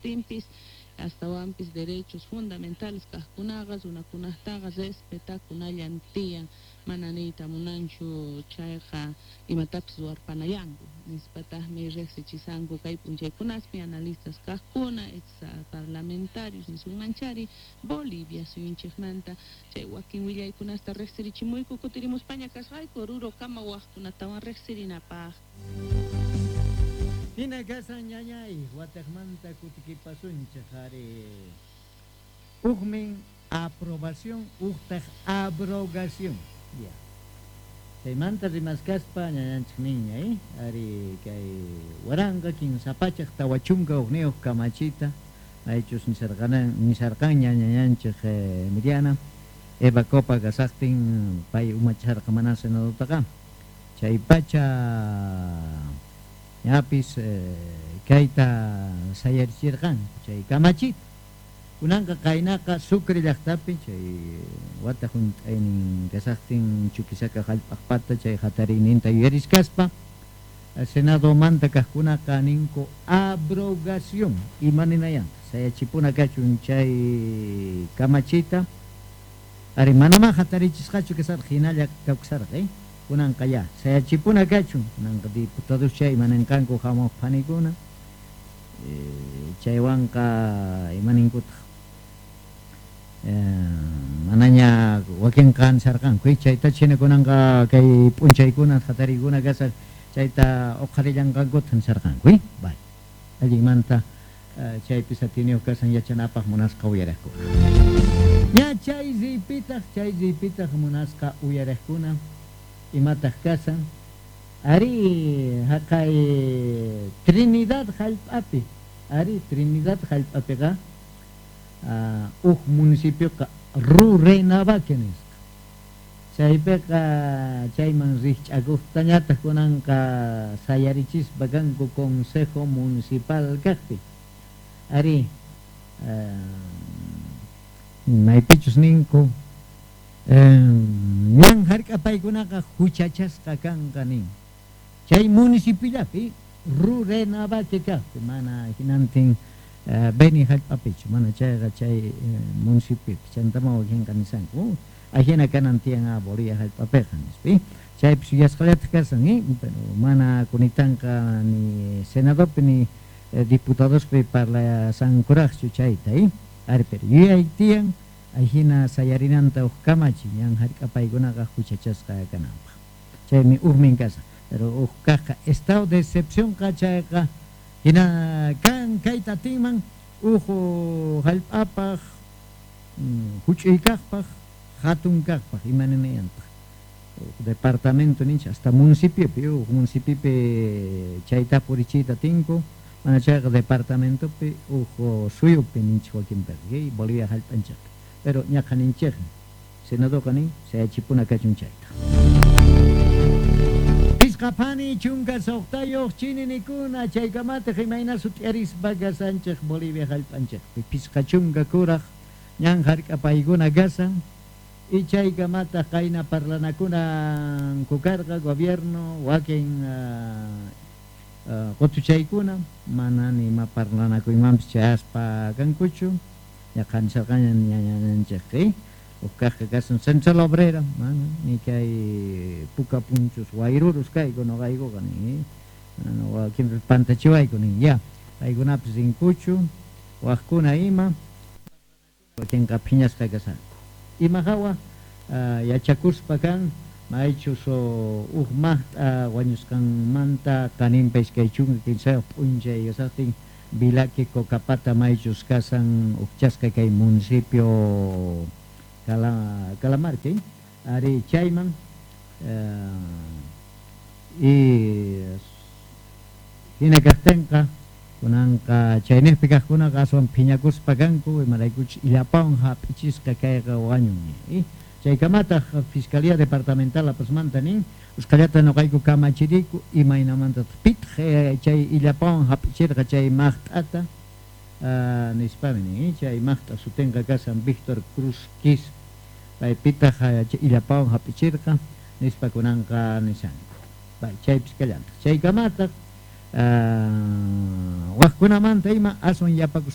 kajtinpis, astawanpis derechos fundamentales kajkunaqa runakunajtaqa respetakunallan tiyan, mana niyta munanchu chayqa imatapis ruwarpanayanku, nispatajmi rejsichisanku kay p'unchaykunaspi analistas kajkuna, ex parlamentarios nisunmanchari Bolivia suyunchikmanta. Chay wakin willaykunasta rejsirichimuyku, kutirimuspaña kasqayku Oruro kama wajkunatawan rejsirinapaj. Hina kasan, ñañay, wataqmanta kutikipasunchik ari. Ujmin aprobación, ujtaq abrogación. Ya. Chaymanta rimaskaspa ñañanchik niña, ari kay 1341 kamachita, maychus nisarqanña ñañanchik Emiliana, Eva Copa kasaqtin pay umacharqa mana senadotaqa. Chay pacha ñapis kayta sayarichirqanku chay kamachita. Kunanqa qaynaqa Sucre llaqtapi chay wata hunt'aynin kasaqtin Chuquisaca hallp'aqpata chay hatariyninta yuyariskaspa Senadomanta kaqkunaqa ninku abrogación ima ninayanta sayachipuna kachun chay kamachita. Ari manamá hatarichisqachu kasarqa, hinalla kawsarqa, kunanqa ya sayachipuna kachun. Kunanqa diputados chay ima ninqanku hamuq phanikuna, chaywanqa ima ninkutaq manaña wakinqa nisarqanku chayta china kunanqa kay p'unchaykuna hatariykuna kasaq chayta uqharillanqankuta nisarqanku. Vale, allinmanta chaypis atiniyuq kasan yachanapaq munasqa uyariqkuna. Ña chay riypitaq munasqa uyariqkuna imataq kasan ari haqay Trinidad hallp'api, ari Trinidad hallp'apiqa uj municipioqa Rurrenabaque nisqa. Chaypiqa chayman rikch'akuqtañataq kunanqa sayarichispa kanku consejo municipal kaqpi. Ari maypichus ninku ñan hark'apaykunaqa huchachasqa kanqa nin. Chay municipiollapi Rurrenabaque kaqpi mana hinantin Beni hallp'apichu, mana chayqa chay municipiopi chantama wakinqa nisanku ajina kanan tiyan Bolivia hallp'apiqa nispa. Chaypis yuyasqallataq kasan, pero mana kunitanqa ni senadopi ni diputadospi parlasankuraqchu chayta, ari pero yuyay tiyan ajina sayarinanta uj kamachi ñan hark'apaykunaqa huchachasqa kananpaq. Chaymi ujmin kasan. Pero uj kaqqa estado de excepcionqa chayqa hina kan kayta atinman uj hallp'apaq huch'uy kaqpaq hatun kaqpaq ima ninayantaq. Departamento ninchik hasta municipiopi, uj municipiopi chayta purichiyta tinku, mana chayqa departamentopi uj suyupi ninchik wakinpiqa, Bolivia hallp'anchikpi. Pero ñaqa ninchikmi senadoqa nin sayachipuna kachun chayta. Pisqa phani chunka suqtayuq chininikuna chaykamataq imayna sut'iarispa kasanchik Bolivia hallp'anchikpi. Pisqa chunka kuraq ñan hark'apaykuna kasan y chaykamataq qayna parlanakunanku karqa gobierno wakin qutuchaykuna mana nima parlanakuymanpis chayaspa kankuchu. Ñaqa nisarqaña ñañanchik, uj kaqqa kasan Central Obrera, mana ni kay puka punchus wayrurus kayku noqaykuqa nin, wakinpis pantachiwayku nin, ya paykunapis rinkuchu waqkuna ima wakinqa phiñasqa kasanku. Ima hawa yachakuspa kan maychus uj maqt'a wañusqanmanta qaninpa 23 p'unchay kasaqtin Vilaqui Cocapata maychus kasan ujchasqa kay municipio Calamarca, ari chayman y hina kaqtinqa kunanqa chayniqpi kaqkunaqa aswan phiñakuspa kanku imaraykuchus illapawan hap'ichisqa kayqa wañun. Chaykamataq Fiscalía Departamental La Pazmanta nin usqhallata noqayku kamachiriku imaynamantataq pitaq chay illapawan hap'ichirqa chay maqt'ata nispami nin, chay maqt'a sutinqa kasan Víctor Cruz Quis, paypitaq illapawan hap'ichirqa nispa kunanqa nisanku. Chaypis kallantaq. Chaykamataq waqkunamanta ima aswan yapakus